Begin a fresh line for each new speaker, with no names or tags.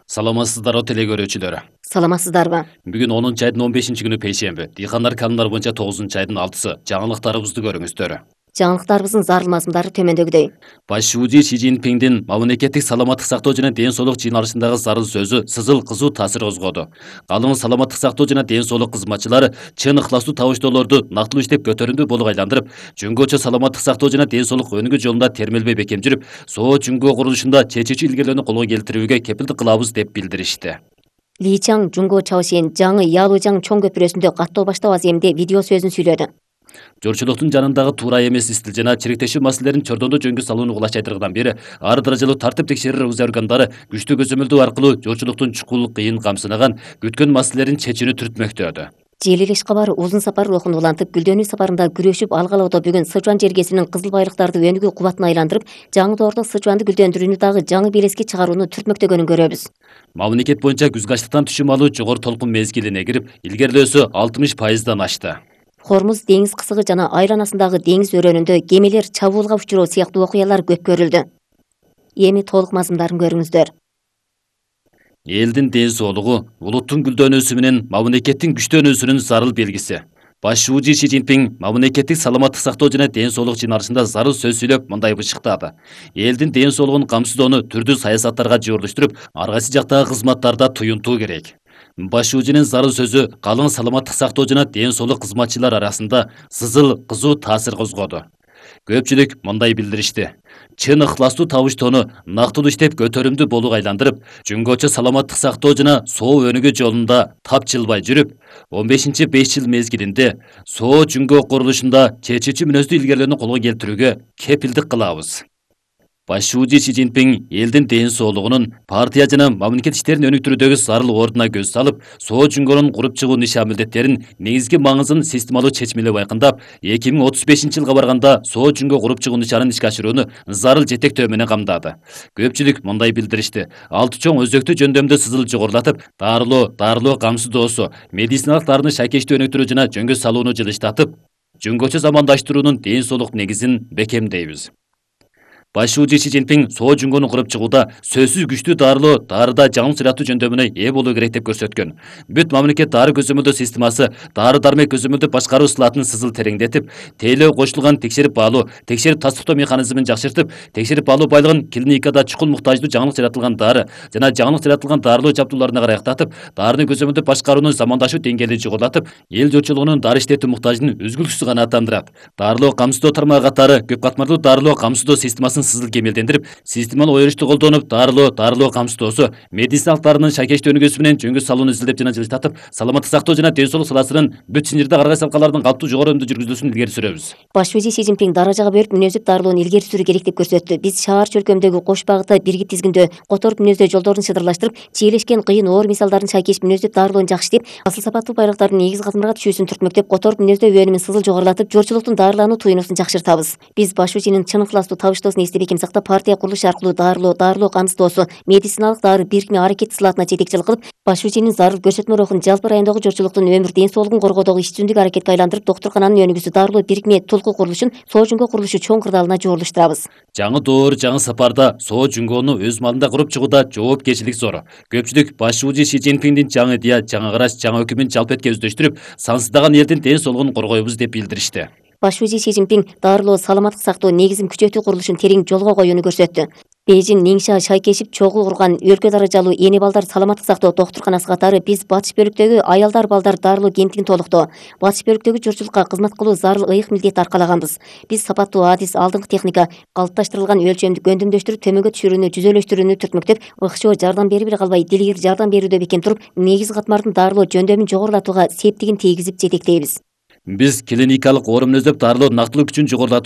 Саламатсыздарбы теле көрүүчүлөр.
Саламатсыздарбы?
Бүгүн 10 айдын 15 күнү пейшемби. Дыйкандар канундар боюнча 9 айдын 6-сы. Жаңылыктарыбызды көрүңүздөр.
Жаңылыктарыбыздын зарыл мазмундары төмөндөгүдөй.
Баш шүүжү Си Цзиньпиндин мамлекеттик саламаттык сактоо жана ден соолук жыйналышындагы зарыл сөзү сызыл кызуу таасир козгоду. Калың саламаттык сактоо жана ден соолук кызматчылары чын ыхластуу табыштоолорду нактылуу иштеп көтөрүмдүү болук айландырып, жөнгөчө саламаттык сактоо жана ден соолук өнүгүү жолунда термелбей бекем жүрүп, соо жөнгө курулушунда чечүүчү илгерүүлөрдү колго келтирүүгө кепилдик кылабыз деп билдиришти.
Ли Чаң Жунго Чаосен жаңы Ялужаң чоң көпүрөсүндө каттоо баштоо аземде видео сөзүн сүйлөдү.
Жорчулуктун жанындагы туура эмес истил жана чириктешүү маселелерин чордондо жөнгө салууну кулачайтыргыдан бери ар даражалуу тартип текшерүү органдары күчтүү көзөмөлдөө аркылуу жорчулуктун чукул кыйын камсынаган күткөн маселелерин чечүүнү түртмөктөдү.
Желилеш кабар узун сапар рухун улантып, гүлдөнүү сапарында күрөшүп алгалоодо бүгүн Сычуан жергесинин кызыл байлыктарды өнүгүү кубатына айландырып, жаңы доордо Сычуанды гүлдөндүрүүнү дагы жаңы белеске чыгарууну түртмөктөгөнүн көрөбүз.
Мамлекет боюнча күзгү ачлыктан түшүм алуу жогору толкун мезгилине кирип, илгерилөөсү 60%дан ашты.
Хормуз деңиз кысыгы жана айланасындагы деңиз өрөөнүндө кемелер чабуулга учуроо сыяктуу окуялар көп көрүлдү. Эми толук мазмундарын көрүңүздөр.
Элдин ден соолугу улуттун гүлдөнүүсү менен мамлекеттин күчтөнүүсүнүн зарыл белгиси. Баш шүүжү Си Цзиньпин мамлекеттик саламаттык сактоо жана ден соолук жыйналышында зарыл сөз сүйлөп мындай бышыктады. Элдин ден соолугун камсыздоону түрдүү саясаттарга жыйырылыштырып, ар кайсы жактагы кызматтарда туюнтуу керек. Баш шүүжүнүн зарыл сөзү калың саламаттык сактоо жана ден соолук кызматчылар арасында сызыл кызуу таасир козгоду. Көпчүлүк мындай билдиришти. Чын ыхластуу табыштоону нактылуу иштеп көтөрүмдүү болук айландырып, жөнгөчө саламаттык сактоо жана соо өнүгүү жолунда тапчылбай жүрүп, 15-5 жыл мезгилинде соо жөнгө курулушунда чечүүчү мүнөздүү илгерүүлөрдү колго келтирүүгө кепилдик кылабыз. Баш шүүжү Си Цзиньпин элдин ден соолугунун партия жана мамлекет иштерин өнүктүрүүдөгү зарыл ордуна көз салып, соо жөнгөнүн куруп чыгуу нишан милдеттерин негизги маңызын системалуу чечмелеп байкындап, 2035-жылга барганда соо жөнгө куруп чыгуу нишанын ишке ашырууну зарыл жетектөө менен камдады. Көпчүлүк мындай билдиришти. 6 чоң өзөктүү жөндөмдө сызыл жогорулатып, дарылоо камсыздоосу, медициналык дарыны шайкештүү өнүктүрүү жана жөнгө салууну жылыштатып, жөнгөчө замандаштыруунун ден соолук негизин бекемдейбиз. Баш шүүжү Си Цзиньпин соо жөнгөнү куруп чыгууда сөзсүз күчтүү дарыда жаңы сыйраттуу жөндөмүнө ээ болуу керек деп көрсөткөн. Бүт мамлекет дары көзөмөлдөө системасы дары-дармек көзөмөлдөө башкаруу ысылатын сызыл тереңдетип, тейлөө кошулган текшерип баалуу, текшерип тастыктоо механизмин жакшыртып, текшерип баалуу байлыгын клиникада чукул муктаждуу жаңылык жаратылган дары жана жаңылык жаратылган дарылоо жабдууларына карай актатып, дарыны көзөмөлдөө башкаруунун замандашуу деңгээлин жогорулатып, эл журтчулугунун дары иштетүү муктажын үзгүлтүксүз канааттандырат. Дарылоо камсыздоо тармагы катары көп катмарлуу дарылоо камсыздоо системасын сызыл кемелдендирип, системалуу оюрушту колдонуп, дарылоо камсыздоосу, медициналык дарынын шайкештүү өнүгүүсү менен жөнгө салууну изилдеп жана жылыштатып, саламаттык сактоо жана ден соолук саласынын бүт синирде ар кайсы алкалардын калптуу жогору өнүмдүү жүргүзүлүүсүн илгери сүрөбүз.
Баш шүүжү Си Цзиньпин даражага бөлүп мүнөздөп дарылоону илгери сүрүү керек деп көрсөттү. Биз шаар чөлкөмдөгү кош багытта биргип тизгиндөө, которуп мүнөздөө жолдорун шыдырлаштырып, чийлешкен кыйын оор мисалдарын шайкеш мүнөздөп дарылоону жакшы иштеп, асыл сапаттуу байлыктардын негизи катмарга түшүүсүн түртмөктөп, которуп мүнөздөө өнүмүн сызыл жогорулатып, жорчулуктун дарылануу туюнуусун жакшыртабыз. Биз баш шүүжүнүн чын ыхластуу табыштоосун эстеп бекем сактап, партия курулушу аркылуу дарылоо камсыздоосу, медициналык дары бирикме аракет сылатына жетекчилик кылып, баш шүүжүнүн зарыл көрсөтмө рухун жалпы райондогу жорчулуктун өмүр ден соолугун коргоодогу иш-жүзүндүк аракетке айландырып, доктуркананын өнүгүүсү дарылоо бирикме тулку курулушун соо жөнгө курулушу чоң кырдаалына жорулуштурабыз.
Жаңы доор, жаңы сапарда соо жөнгөнү өз малында куруп чыгууда жоопкерчилик зор. Көпчүлүк баш шүүжү Си Цзиньпиндин жаңы идея, жаңы караш, жаңы өкүмүн жалпы этке өздөштүрүп, сансыздаган элдин ден соолугун коргойбуз деп билдиришти.
Баш шүүжү Си Цзиньпин дарылоо саламаттык сактоо негизин күчөтүү курулушун терең жолго коюуну көрсөттү. Бейжин, Ниңша шайкешип чогуу курган өлкө даражалуу эне балдар саламаттык сактоо доктурканасы катары биз батыш бөлүктөгү аялдар балдар дарылоо кемтигин толуктоо, батыш бөлүктөгү журтчулукка кызмат кылуу зарыл ыйык милдет аркалаганбыз. Биз сапаттуу адис, алдыңкы техника, калыпташтырылган өлчөмдү өндүмдөштүрүп, төмөнгө түшүрүүнү жүзөлөштүрүүнү түртмөктөп, ыкчоо жардам берип эле калбай, дилгир жардам берүүдө бекем туруп, негизи катмардын дарылоо жөндөмүн жогорулатууга септигин тийгизип жетектейбиз.
Биз клиникалык оор мүнөздөп дарылоо нактылуу күчүн жогорулатуу